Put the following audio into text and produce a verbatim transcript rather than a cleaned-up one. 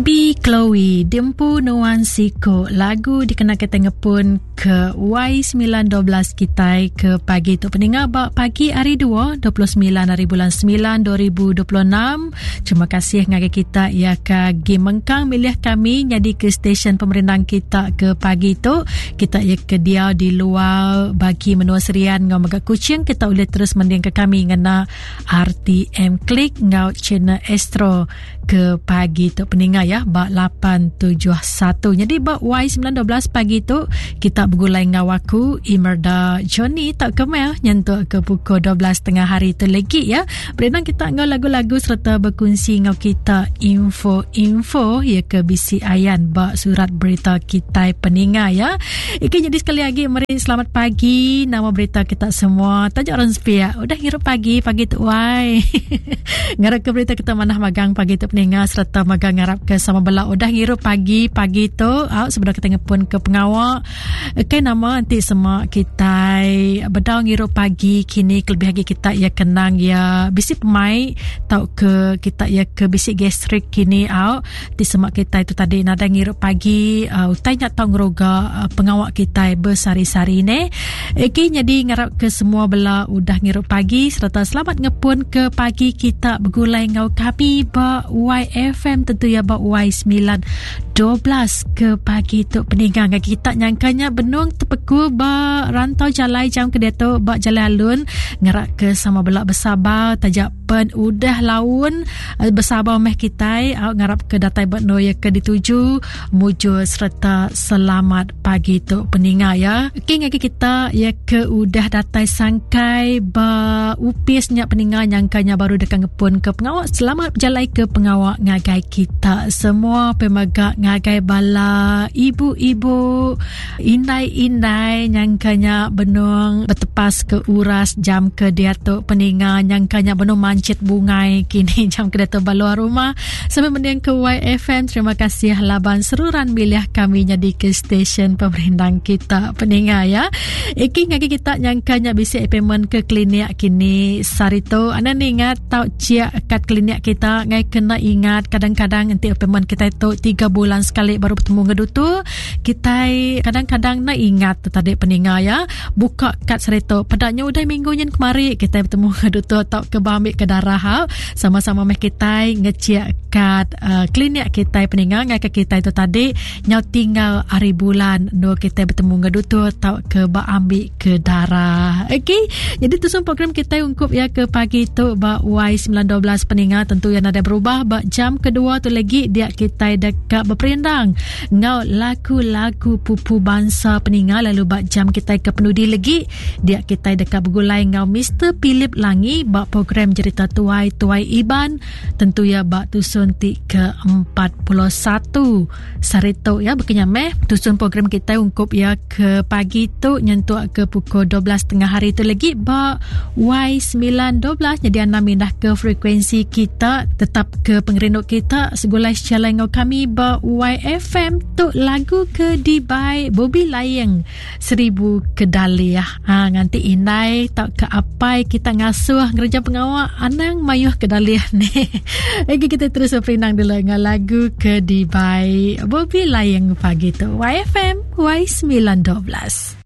B. Chloe Dempu Nuan Siko lagu dikena kita ngepun ke Y sembilan dua belas kita ke pagi tu peninga ba pagi hari dua, dua puluh sembilan hari bulan sembilan dua ribu dua puluh enam. Terima kasih ngagai kita ya ke gi mengkang milih kami jadi ke stesen pemerindang kita ke pagi tu. Kita ya ke dia di luar bagi menua Serian ngau mega Kuching, kita boleh terus mending ke kami ngena R T M Klik ngau channel Astro ke pagi tu peninga ya ba lapan tujuh satu. Jadi ba Y sembilan dua belas pagi tu kita bergulai ngau aku Imerda Johnny tak kemel nyentuk ke pukul dua belas tengah hari tu lagi ya. Berenang kita ngau lagu-lagu serta berkongsi ngau kita info-info ya ke B C Ayan ba surat berita kita peninga ya. Iki jadi sekali lagi meri selamat pagi nama berita kita semua. Tajak orang sepiak udah ngirup pagi pagi tu wai. Ngarap ke berita kita manah magang pagi tu peninga serta magang ngarap ke sama bela udah ngirup pagi pagi tu au sebenar kita ngepun ke pengawak. Okey nama nanti semua kita bedau ngirup pagi kini kelebih lagi kita ya kenang ya bisi pemai tau ke kita ya ke bisi gastrik kini au ti semak kita itu tadi nada ngirup pagi uh, utai nyak tau ngeroga uh, pengawak kita bersari-sari ne. Okey jadi ngarap ke semua bela udah ngirup pagi serta selamat ngepun ke pagi kita bergulai ngau kami ba Y F M tentu ya ba Y sembilan dua belas ke pagi tu peninggang kita nyangkanya benung tepeku ba rantau jalai jam ke dia tu ba jalai alun ngerak ke sama belak bersabar tajak pen udah laun bersabar meh kitai au ngarap ke datai ba noya ke dituju mujur serta selamat pagi tu peninga ya. Okey ngagi kita ya ke udah datai sangkai ba upis nya peninga nyangkanya baru dekat ngepun ke pengawak. Selamat berjalai ke pengawak ngagai kita semua pemegak ngagai bala ibu-ibu indai-indai nyangkanya benung bertepas ke uras jam ke dia tu peninga nyangkanya benung mancit bungai kini jam ke dia tu baluar rumah sampai mending ke Y F M. Terima kasih laban seruran milih kami jadi ke stesen pemerindang kita peninga ya. Iki ngagi kita nyangkanya bisi appointment ke klinik kini sarito anda ni ingat tau ciak kat klinik kita ngai kena ingat kadang-kadang nanti appointment kita itu tiga bulan sekali baru bertemu ngedutu kita kadang-kadang nak ingat tadi peninga ya buka kad serito pedaknya udah minggu nyen kemari kita bertemu ngedutu atau ke ambil ke darah ha. Sama-sama meh kita ngeciak kad uh, klinik kita peninga ngai ke kita itu tadi nyau tinggal hari bulan no kita bertemu ngedutu atau ke ambil ke darah. Okey, jadi tu semua program kita ungkup ya ke pagi tu ba Y sembilan dua belas peninga tentu yang ada berubah ba jam kedua tu lagi dia kita dekat berperindang ngau lagu-lagu pupu bangsa peninga lalu ba jam kita ke penudi lagi dia kita dekat bergulai ngau Mister Philip Langi ba program cerita tuai tuai Iban tentu ya ba tusun ti ke empat puluh satu sarito ya berkenya meh tusun program kita ungkup ya ke pagi tu nyentuk ke pukul dua belas tengah hari tu lagi ba Y sembilan dua belas. Jadi anda mindah ke frekuensi kita tetap ke pengerinduk kita segulai sejalai ngau kami ba Y F M tu lagu ke dibai Bobby Layeng Seribu Kedali ya. Ha nganti indai tak ke apai kita ngasuh ngereja pengawak anang mayuh kedalih ni. Lagi kita terus berperindang dulu dengan lagu ke dibai Bobby Layeng pagi tu Y F M Y sembilan dua belas.